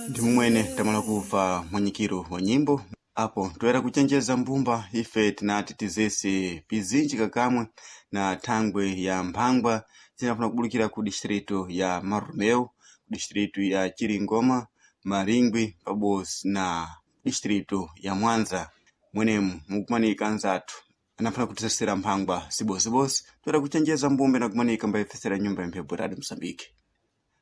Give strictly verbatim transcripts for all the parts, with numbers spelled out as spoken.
Ndi mumwene tamala kuva mwanyikiro wa nyimbo apo toera kuchenjeza mbumba ife tinati tizese pizinji kakamwe na thangwe ya mphangwa zinafuna kubulukira ku distrito ya Marromeu, ku distrito ya Chiringoma, Maringwi pabodzi na distrito ya Mwanza. Mwenemu mukumanika anzathu anafuna kutisesera mphangwa sibosibose toera kuchenjeza mbumba inakumanika mbayifesera nyumba ya mphepo Radio Msambiki.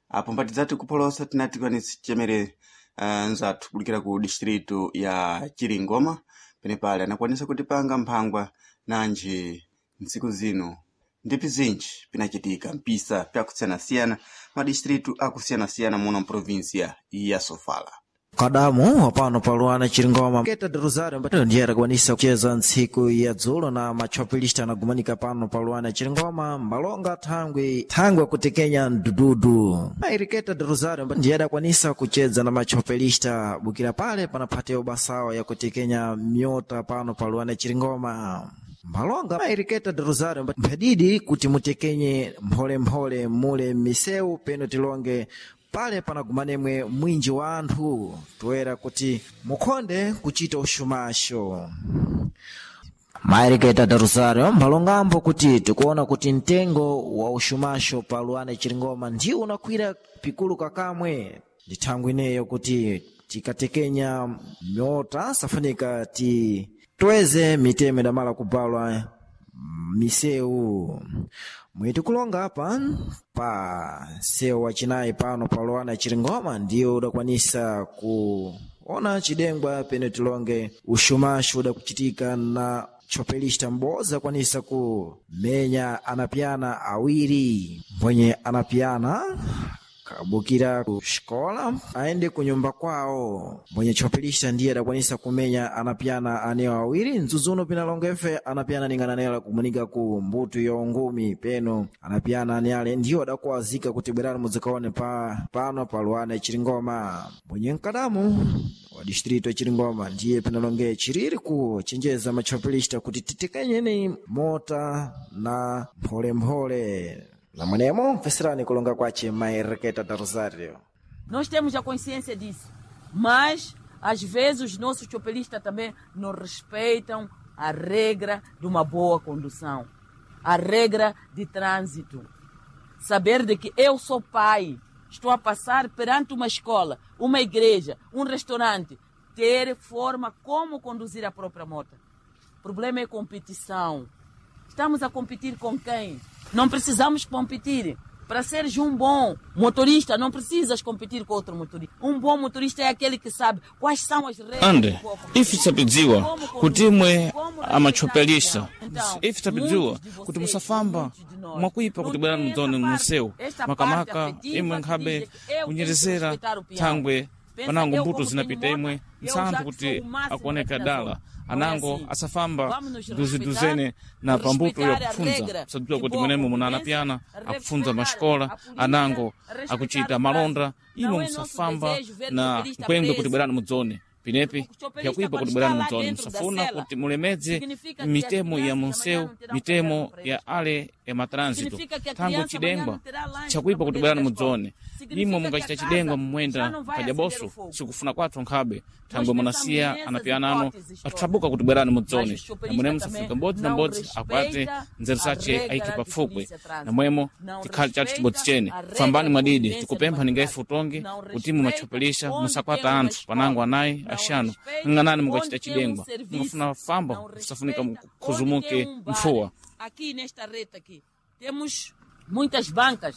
Apo mpatidzati kupholosa tinati kwanisi chemere uh, nzathu kulikira ku distrito ya Chiringoma penepale anakwanisa kutipanga mphangwa nanji ntsiku zino ndi pizinji pinachitika mpisa pyakusiyanasiyana madistritu akusiyanasiyana muno mprovinsia ya Sofala. Kadamu wapano paluana Chiringoma Keta de Rosario ambayo ndiye adakwanisa kucheza ntsiku ya dzulo na machopilista anagumanika pano paluana Chiringoma mbalonga thangwi thangwi akutekenya mdududu Mairiketa de Rosario ambayo ndiye adakwanisa kucheza na machopilista bukira pale panaphatewa basawa ya kutekenya myota pano paluana Chiringoma mbalonga mairiketa de Rosario mphadidi kuti mutekenye mpholemphole mule misewu peno tilonge pale panagumanemwe mwinji wa anthu toera kuti mukhonde kuchita ushumasho. Mairiketa da Rosario mbalongambo kuti tikuona kuti mtengo wa ushumasho pa Luana Chiringoma ndiwo unakwira pikulu kakamwe ndi thangwi ineyo kuti tikatekenya myota safunika ti tweze mitemo idamala kubalwa misewu mwiti kulonga apa pa sewu wachinayi pano pa Luana Chiringoma ndiyo udakwanisa kuona chidengwa pene tilonge ushumashu udakuchitika na chopelista m'bodzi akwanisa kumenya anapiyana awiri mbwenye anapiyana kabukira ku xikola aende kunyumba kwawo mbwenye chopelista ndiye adakwanisa kumenya anapiyana anewo awiri mdzudzuno pinalonga ife anapiyana ningana anewo akumunika ku mbuto ya ungumi peno anapiyana ane ale ndiwo adakuwazika kuti bwerani mudzikaone pa pano pa Luana Chiringoma mbwenye mkadamu wa distrito ya Chiringoma ndiye pinalonge chiriri kuchenjeza machopelista kuti titekenyeni mota na mpholemphole namwenemo mveserani kulonga kwace Mairiketa da Rosario. Nós temos a consciência disso, mas às vezes os nossos chopelistas também não respeitam a regra de uma boa condução, a regra de trânsito. Saber de que eu sou pai, estou a passar perante uma escola, uma igreja, um restaurante, ter forma como conduzir a própria moto. O problema é competição. Estamos a competir com quem? Não precisamos competir. Para seres um bom motorista, não precisas competir com outro motorista. Um bom motorista é aquele que sabe quais são as regras. Ande, de boa condução, ife tisapidziwa como kuti conduzir, imwe como amachopelista respeitar o peão. Então, ife tapidziwa muitos de vocês, kuti musafamba muitos de nós, mwakuipa não kuti bwerani têm mudzone essa parte, munsewu esta makamaka parte afetiva imwe que nkhabe diz que eu tenho que kunyerezera respeitar o peão. thangwe Pensa, panango eu mbuto como zinapita tenho imwe moto, eu já msanthu que kuti sou o máximo akuoneka aqui na dala zona. Não é anango assim. asafamba Vamos nos duziduzene respeitar, na pambuto respeitar a yakufunza regra sadziwa de kuti boa mwenemo muna convivência, anapiyana akufunza respeitar maxikola a polícia, anango respeitar akuchita o malonda trânsito. imwe Não é nosso musafamba desejo ver na chopelista mkwengwe kuti preso. bwerani mudzone pinepi Porque o chopelista, pyakuipa quando kuti está bwerani lá mudzone dentro da musafuna cela, kuti mulemedze significa que as mitemo ya crianças munsewu amanhã não terão mitemo caderno para ya eles. ale ya matrânsito Significa que a thango criança amanhã chidengwa não terá lanche chakuipa para kuti poder bwerani ir à escola. mudzone imwe Significa que mungachita a casa chidengwa já mumwenda não vai kadya acender o boso fogo. sikufuna kwathu nkhabe Nós thangwe pensamos munasiya nessas anapiyana ano hipóteses todas. athabuka kuti bwerani Mas mudzone os chopelistas namwene também musafika mbodzi na não mbodzi akwate respeita nzeru a sache regra aike de pafukwe polícia trânsito. namwemo Não tikhale chathu chibodzi respeita chene a regra fambani de mwadidi convivência tikupempha numa ninga cidade. ife utonge Não kuti imwe respeita machopelisha onde musakwata tem uma anthu panango escola. anayi Não axanu respeita ng'anani mungachita onde tem um chidengwa serviço. mungafuna famba Não musafunika respeita onde mukhuzumuke tem um bar. mfuwa. Aqui nesta reta aqui temos muitas bancas.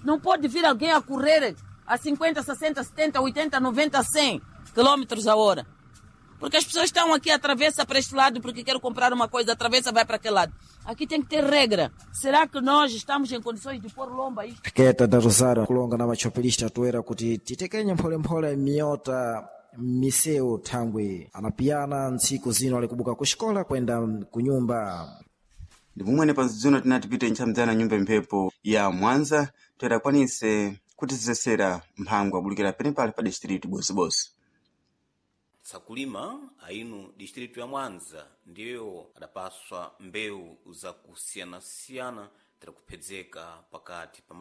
Não pode vir alguém a correr a cinquenta, sessenta, setenta, oitenta, noventa, cem quilômetros a hora. Porque as pessoas estão aqui, atravessa para este lado porque quero comprar uma coisa, atravessa, vai para aquele lado. Aqui tem que ter regra. Será que nós estamos em condições de pôr lomba isto? Keta da Rosario kulonga na machopelista toera kuti titekenye mpholemphole miyota misewu thangwi anapiyana ntsiku zino alikubuka ku xikola kwenda kunyumba. Ndi mumwene panzidzuno tinati pite ntchamdzana nyumba mphepo ya Mwanza toera akwanise kutizesera mphangwa abulukira penepale pa distrito bosibose. Tsakulima ainu distritu ya Mwanza ndiyo adapaswa mbewu zakusiyanasiyana tirakuphedzeka pakati pa